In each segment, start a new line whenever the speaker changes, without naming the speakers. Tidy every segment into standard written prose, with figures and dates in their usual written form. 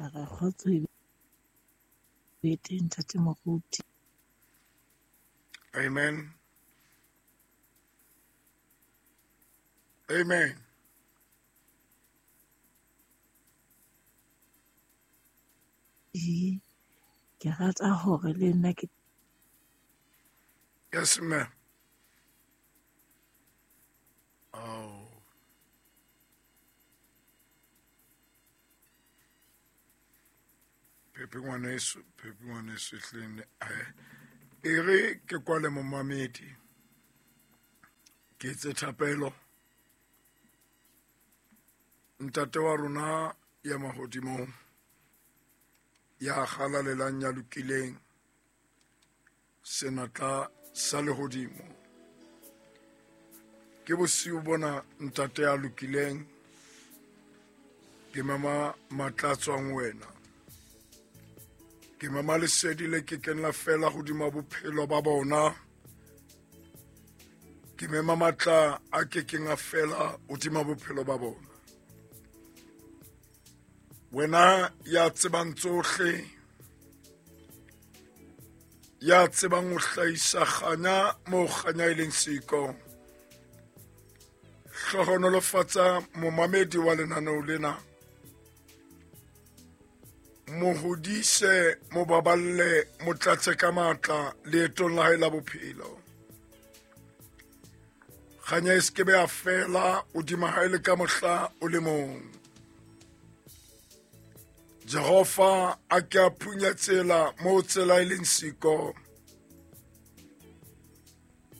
Ka re kgotso e be teng ntate moruti.
Amen. Amen.
Ke rata hore le nna ke
Yes, ma'am. Oh. Pepe ngwaneso, Pepe ngwaneso ehleng e re ke kwale momamedi. Ke etse thapelo. Ntate wa rona ya mahodimong, ya halalelang, ya lokileng, senatla sa lehodimo. Ke bosiu bona ntate ya lokileng, ke mema matla a tswang wena. Ke mema lesedi le ke keng la fela hodima bophelo ba bona. Ke mema matla a ke keng a fela hodima bophelo ba bona. Wena ya tsebang tsohle, ya tsebang ho hlahisa kganya moo kganya e leng siko, hlohonolofatsa momamedi wa lenaneo lena. Mo hodise, mo baballe, mo tlatse ka matla leetong la hae la bophelo. Kganya e se ke be ya fela hodima hae le ka mohla o le mong. Jehova a ke a phunya tsela moo tsela e leng siko,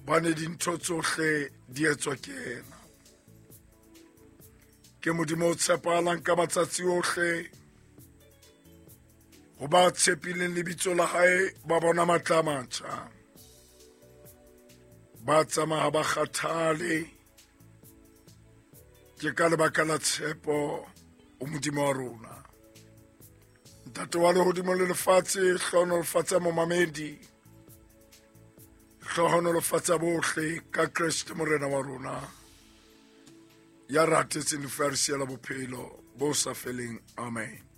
bane dintho tsohle di etswa ke yena. Ke Modimo o tshepahalang ka matsatsi ohle. Ho ba tshepileng lebitso la hae ba bona matla a matjha. Ba tsamaya ba kgathale. Ke ka lebaka la tshepo o Modimo wa rona. Ntate wa lehodimo le lefatshe, hlohonolofatsa momamedi. Hlohonolofatsa bohle ka Kreste Morena wa rona, ya ratetseng lefu a re siela bophelo bo sa feleng. Amen.